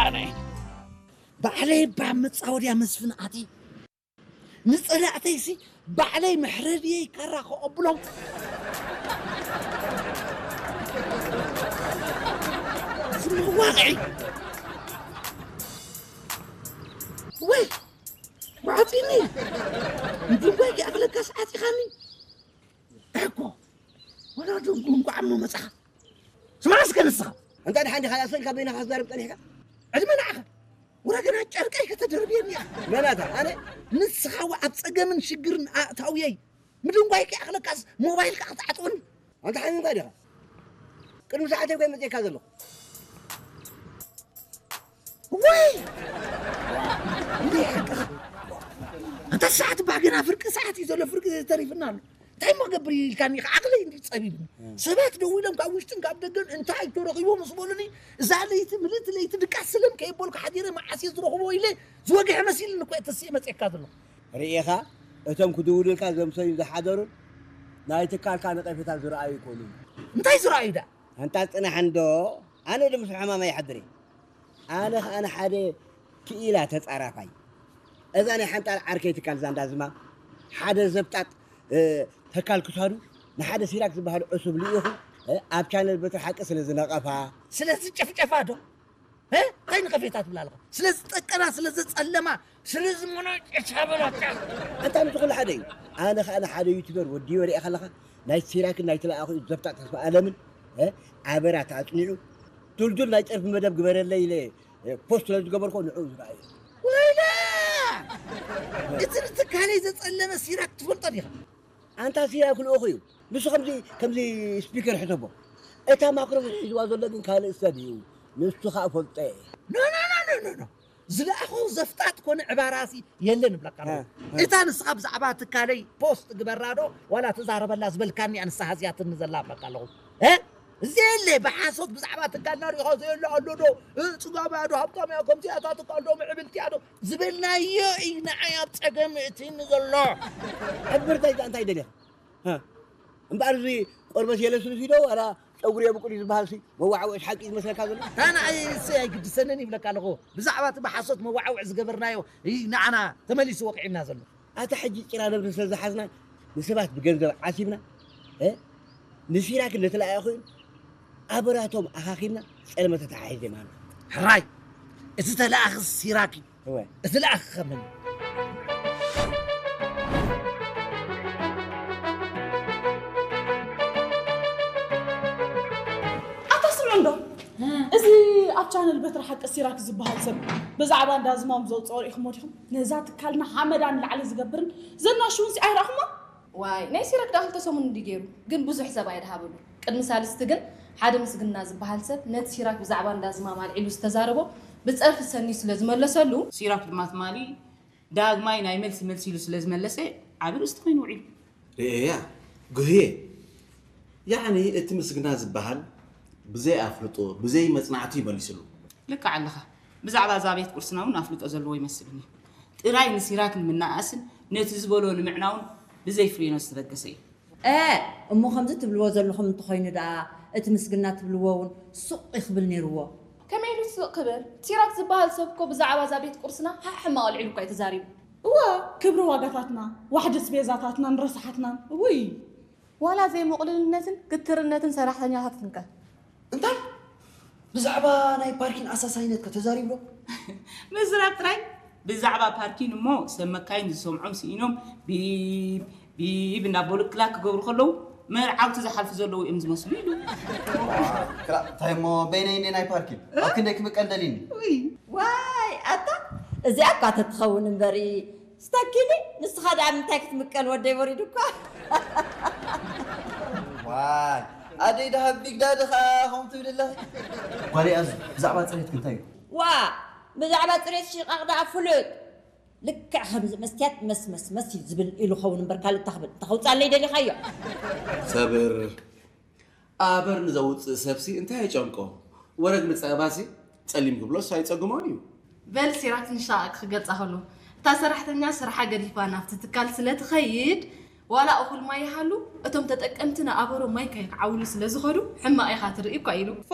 ኣነ ባዕለይ እባ መጻወድያ መስፍን ኣትየ ንጸላእተይሲ ባዕለይ መሕረድየይ ካራ ከቐብሎም። እዚ መዋቕዒ ወይ ውዓጢኒ ንድንጓይ ክኣኽለካ ሰዓት ኢኻኒ እኮ። ወላ ድንጉ እንኳዕ እሞ መጻኻ። ስማዕ እስከ ንስኻ። እንታይ ደሓን ዲኻ? ኣሰልካ በይንኻ ክትዛረብ ጸኒሕካ? ዕድመ ንዓኻ። ወላ ገና ጨርቀይ ከተደርብየኒ ኢኻ። መናታ፣ ኣነ? ንስኻ እዋ ኣብ ጸገምን ሽግርን ኣእታውየይ። ምድንጓይ ከይኣኽለካስ ሞባይልካ ክትዓጥወኒ። ኣንታ ሓሚምካ ዲኻ? ቅድሚ ሰዓተይ እኮ እየ መጺእካ ዘለኹ። ወይ! እንዴ ሓቅኻ። ኣንታ ሰዓት እባ ገና ፍርቂ ሰዓት እዩ ዘሎ፣ ፍርቂ ተሪፍና ኣሎ። እንታይ እሞ ገብር ኢልካኒ ኢኻ? ዓቕለይ እንዲ ጸቢብኒ። ሰባት ደው ኢሎም ካብ ውሽጥን ካብ ደገን እንታይ ተረኺቡ ምስ በሉኒ፣ እዛ ለይቲ ምልእቲ ለይቲ ድቃስ ስለም ከየበልኩ ሓዲረ መዓስ እየ ዝረኽቦ ኢለ ዝወግሐ መሲልኒ እኮ እየ ተስየ መጺእካ ዘለኹ። ርኢኻ፣ እቶም ክድውሉልካ ዘምሰዩ ዝሓደሩን ናይ ትካልካ ነቐፌታ ዝረኣዩ ይኮኑን። እንታይ ዝረኣዩ ደኣ? ኣንታ ጽናሕ እንዶ፣ ኣነ ዶ ምስ ሕማም ኣይሓድር እየ። ኣነ ኸኣ ንሓደ ክኢላ ተጻራፋይ፣ እዛ ናይ ሓንጣል ዓርከይ ትካል ዛንዳ ዝማም፣ ሓደ ዘብጣጥ፣ እ፣ ተካል ክሳዱ ንሓደ ሲራክ ዝበሃል ዕሱብ ልኢኹ፣ እ፣ ኣብ ቻነል በትሪ ሓቂ ስለ ዝነቐፋ። ስለ ዝጨፍጨፋ ዶ? እ? እንታይ ንቐፌታ ትብላ ኣለኻ? ስለ ዝጠቀና፣ ስለ ዘጸለማ፣ ስለ ዝመናጨቻ በላታ። ኣንታ ምስኡ ኩሉ ሓደ እዩ። ኣነ ኸኣ ንሓደ ዩቱበር ወዲበ ሪኣ ከለኻ፣ ናይ ሲራክን ናይ ተለኣኹ ዘብጣጥ ተስፋ ኣለምን፣ እ? ኣበራ ተኣጽኒዑ፣ ዱልዱል ናይ ጨርፊ መደብ ግበረለይ ኢለ፣ እ፣ ፖስት ስለ ዝገበርኮ ንዕኡ ዝረኣዩ። ወይላ! እቲ ንትካለይ ዘጸለመ ሲራክ ትፈልጦ ዲኻ? ኣንታ ሲራክ ልኡኹ እዩ። ንሱ ከምዚ፣ ከምዚ ስፒከር ሕሰቦ። እታ ማክሮፎን ሒዝዋ ዘሎ ግን ካልእ ሰብ እዩ። ንሱ ኸኣ ፈልጦ እየ። ኖ፣ ኖ፣ ኖ፣ ኖ፣ ኖ፣ ኖ። ዝለኣኹ ዘፍጣጥ ኮነ ዕባራሲ የለን እብለካ ኣለኹ። እ፣ እ። እታ ንስኻ ብዛዕባ ትካለይ ፖስት ግበራ ዶ፣ ዋላ ተዛረበላ ዝበልካኒ እያ ንስኻ ዝያትኒ ዘላ እብለካ ኣለኹ። እ? እዚ የለ፣ ብሓሶት ብዛዕባ ትካልና ሪኢኻ ዘየለ ኣሎ ዶ? እ፣ ጽጋብ እያ ዶ? ሃብታም እያ፣ ከምዚ እያ፣ እታ ትካል ዶ ምዕብልቲ እያ ዶ? ዝበልናዮ እዩ ንዓይ ኣብ ጸገም እእትኒ ዘሎ። ሕብርተይ እንታይ ደሊኻ? ሃ? እምበኣር እዚ ቆርበት የለስልስ እዩ ዶ ዋላ ጨጉሪ የብቁል እዩ ዝበሃል ሲ መዋዕውዒ ሓቂ እዩ ዝመስለካ ዘሎ? ኣነ ኣይ-፣ እሱ ኣይግድሰንን ይብለካ ኣለኹ። ብዛዕባ እቲ ብሓሶት መዋዕውዒ ዝገበርናዮ እዩ ንዓና ተመሊሱ ወቂዕና ዘሎ። ኣታ ሕጂ ጭራ ነብሪ ስለ ዝሓዝና ንሰባት ብገንዘብ ዓሲብና፣ እ? ንሲራክ ነተለኣኣኹ ኣበራቶም ኣኻኺብና ጸለመ ተተሓሒዘ ማና። ሕራይ፣ እቲ ተለኣኺ ሲራክ እዩ። እወ። እቲ ለኣኺ ከመን እዩ? ኣታ ስምዑ እንዶ፣ እዚ ኣብ ቻነል በትሪ ሓቂ ሲራክ ዝበሃል ሰብ ብዛዕባ እንዳ ዝማም ዘውፅኦ ርኢኹሞ ዲኹም? ነዛ ትካልና ሓመዳ ንላዕሊ ዝገብርን ዘናሽውን ሲ ኣይረኣኹሞ? ዋይ፣ ናይ ሲራክ ደኣ ክልተ ሰሙን እንዲ ገይሩ፣ ግን ብዙሕ ሰብ ኣይደሃበሉ። ቅድሚ ሳልስቲ ግን ሓደ ምስግና ዝበሃል ሰብ ነቲ ሲራክ ብዛዕባ እንዳ ዝማም ኣልዒሉ ዝተዛረቦ ብጸርፊ ሰንዩ ስለ ዝመለሰሉ፣ ሲራክ ድማ ትማሊ ዳግማይ ናይ መልሲ መልሲ ኢሉ ስለ ዝመለሰ ዓቢ ርእስቲ ኮይኑ ውዒሉ። ርእየያ፣ ጉህየ። ያዕኒ እቲ ምስግና ዝበሃል ብዘይ ኣፍልጦ፣ ብዘይ መጽናዕቲ እዩ መሊስሉ። ልክዕ ኣለኻ። ብዛዕባ እዛ ቤት ቁርስና እውን ኣፍልጦ ዘለዎ ይመስልኒ። ጥራይ ንሲራክ ንምናኣስን ነቲ ዝበሎ ንምዕናውን ብዘይ ፍሬኖ ዝተበገሰ እዩ። እ፣ እሞ ከምዚ ትብልዎ ዘለኹም እንተኾይኑ ደኣ፣ እቲ ምስግና ትብልዎ እውን ሱቕ ይኽብል ነይርዎ። ከመይ ኢሉ ሱቕ ክብል? ሲራክ ዝበሃል ሰብ እኮ ብዛዕባ እዛ ቤት ቁርስና ሓሕ ሕማቕ ኣልዒሉ እኳ እዩ ተዛሪቡ። እወ፣ ክብሪ ዋጋታትና፣ ዋሕዲ ስቤዛታትናን ረሳሓትናን፣ እውይ! ዋላ ዘይምቕሉልነትን ግትርነትን ሰራሕተኛታትንከ? እንታይ? ብዛዕባ ናይ ፓርኪን ኣሳሳይነት ከ ተዛሪቡ ዶ? ምዝራብ ጥራይ። ብዛዕባ ፓርኪን እሞ ሰብ መካይን ዝሰምዖም ስኢኖም ቢብ ቢብ እናበሉ ክላክ ክገብሩ ከለዉ መርዓውቲ ዝሓልፉ ዘለዉ እዮም ዝመስሉ ኢሉ። ክላ-፣ እንታይ እሞ በይነይ እንደ ናይ ፓርኪን? ኣብ ክንደይ ክምቀል ደሊኒ? ውይ። ዋይ፣ ኣታ እዚኣ እኳ ተትኸውን እምበሪ፣ ስታኪኒ፣ ንስኻ ደኣ ምንታይ ክትምቀል ወደይ ወሪዱካ? ዋይ፣ ኣደይ ደሃብ ቢግ ዳዲ ኸኣ ከምኡ ትብል ኣለኺ? ጓለይ ኣዙ፣ ብዛዕባ ጽሬትኪ እንታይ እዩ? ዋ፣ ብዛዕባ ጽሬት ሽቓቕ ደኣ ፍሉጥ። ልክዕ ከምዚ መስትያት መስ መስ መስ እዩ ዝብል ኢሉ ኸውን እምበር ካልእ እንታይ ክብል? እንታይ ከውጽኣለይ ደሊኻዮ? ሰብር። ኣበር ንዘውጽእ ሰብሲ እንታይ የጨንቆ? ወረግ ንጸባሲ ጸሊም ክብሎስ ኣይጸግሞን እዩ። በል ሲራክ ንሻቕ ክገልጻ ከሎ፣ እታ ሰራሕተኛ ስርሓ ገዲፋ ናብቲ ትካል ስለ ትኸይድ፣ ዋላ እኹል ማይ ይሃሉ፣ እቶም ተጠቀምቲ ንኣበሮ ማይ ከይክዓውሉ ስለ ዝኸዱ፣ ሕማቕ ኢኻ ትርኢ እኳ ኢሉ። ፋ!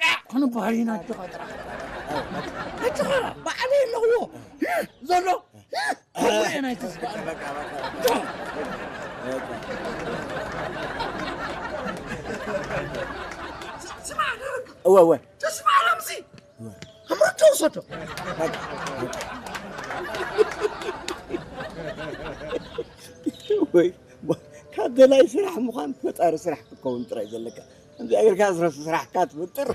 ጫዕ ክንበሃል ኢና ኣጆኻ ጥራሕ ኣጆኻ ባዕለይ ኣለኽዎ ዘሎ ናይቲ ዝበሃል እወ እወ ተስፋ ኣለምሲ ኣምርቶ ውሰዶ ወይ ካብ ደላይ ስራሕ ምዃን ፈጣሪ ስራሕ ክትከውን ጥራይ ዘለካ እዚኣ ጌርካ ዝረሱ ስራሕካ ትፍጥር